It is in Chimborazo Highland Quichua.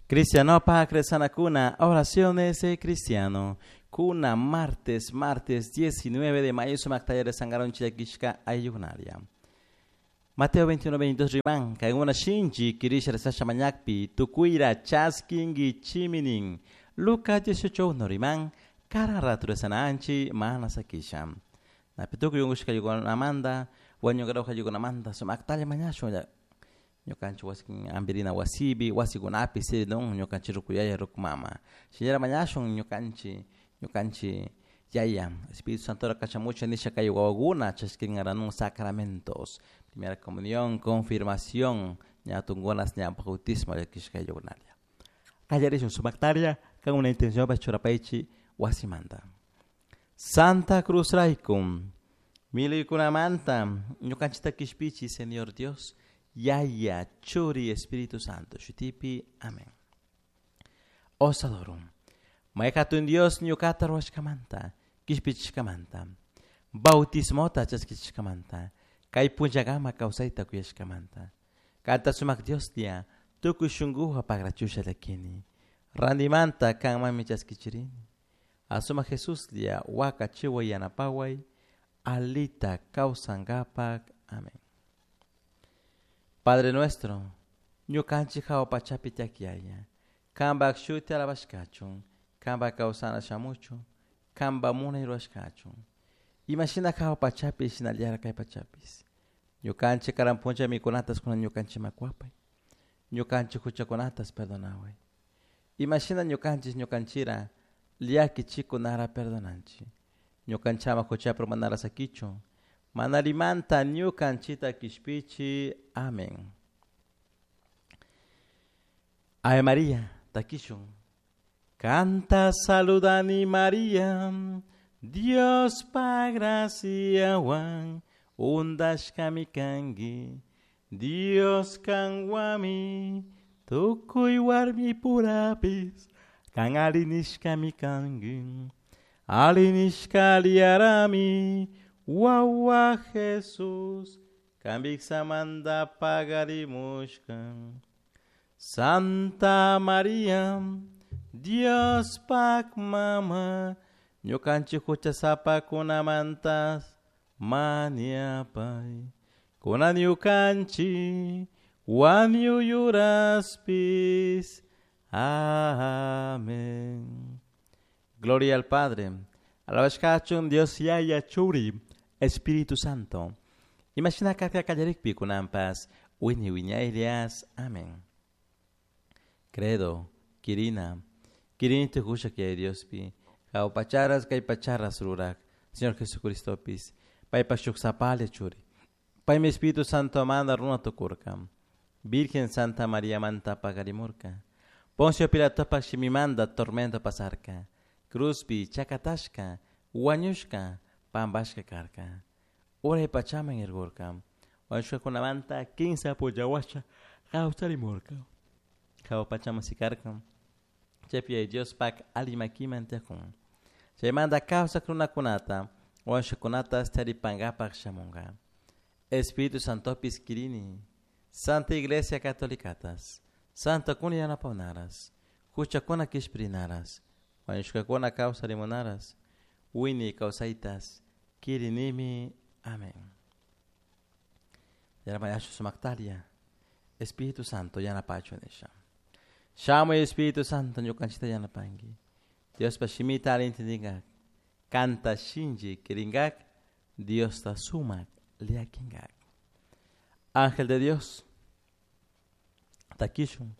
Cristianopak rezanakuna, oraciones de cristiano. Kuna martes, martes 19 de mayo, sumaktaya rezangaron chilakishka ayllukunaria. Mateo 21, 22 riman, kayguna shinchi, kirisha rezasha mañakpi, tukuira chaskingi chiminin. Lucas 18, 1 riman, kara ratu rezananchi, mana sakisha. Napituku yungushka yukunamanta, wañunkarauja yukunamanta, sumaktalla mañashun ñukanchik wasi ampirina wasipi wasikunapi siridun ñukanchik ruku yaya ruku mama shinallara mañashun ñukanchik ñukanchik yaya Espíritu Santora kachamuchun nisha kay wawakuna chashkinkaranun sacramentos primera comunión confirmación ña tunkunas ña bautismo llakishka ayllukunalla kallarishun sumaktalla kan una intencionpash churapaychik wasimanta. Santa Cruz rayku milaykunamanta ñukanchikta kishpichi Señor Dios Yaya Churi Espíritu Santo shutipi amén. Osadorum May hatun Dios ñukata ruwashkamanta kishpichishkamanta bautismota chaskichishkamanta kay punllakama kawsayta kuyashkamanta kanta sumak Dioslla tukuy shunkuwan pagrachusha llakini randimanta kanmanmi chaskichirini asumak Jesuslla wakachiway yanapaway alita kawsankapak amén. Padre nuestro, ñukanchik hawa pachapi tiyak yaya, kanpak shuti alabashkachun, kanpak kawsana shamuchun, kanpak munay rurashkachun. Imashina hawa pachapi shinallara kay pachapis. Ñukanchik karan punlla mikunatas kunan ñukanchikman kuapay. Ñukanchik huchakunatas perdonaway. Imashina ñukanchik ñukanchira llakichikunara perdonanchik. Ñukanchama huchapi manara sakichun. Manalimanta ñukanchita kishpichi. Amén. Ave María, takishun. Canta saludani María, Dios pa graciawan, undashkami kanki, Dios kanwami, tukuy warmi purapis, kan alinishkami kanki, alinishka aliarami, wawa Jesús, kambiksamanta pagarimushka. Santa María, Dios pak mama, ñukanchik huchasapakunamantas mañapay. Kunan ñukanchik wañuyuraspis. Amén. Gloria al Padre, alabashkachun Dios Yaya Churi, Espíritu Santo. Imashina karka kallarikpi kunanpas, wiñay wiñaylias. Amén. Credo, Kirina, Kirini tukusha kay Diospi, hawa pacharas kay pacharas rurak, Señor Jesucristopis, paypak shuk sapalla churi. Paymi Espíritu Santo manda runa tukurka. Virgen Santa María manta pagarimurka. Poncio Pilatopak shimimanta tormento pasarka. Cruzpi chakatashka, wañushka, pampashka karka. Uray pachaman irkurka. Wañushkakunamanta kinsa punlla kawsarimurka. Hawa pachaman sikarka. Chaypi Diospak alli makiman tiyakun. Chaymanta kawsak runakunata, wañushkakunata taripankapak shamunka. Espíritu Santopis kirini, Santa Iglesia Catolicatas, Santokuna yanapawnaras, huchakuna kishpirinaras, wañushkakuna kawsarimunaras, wiñay kawsaytas, kirinimi. Amén. Yaramayachu sumaktaria, Espíritu Santo yanapachu nisha. Shamuy Espíritu Santo ñukanchikta yanapanki. Diospa shimita alli entendingak, kanta shinchi kirinkak, Diosta sumak llakinkak. Ángel de Dios, takishun.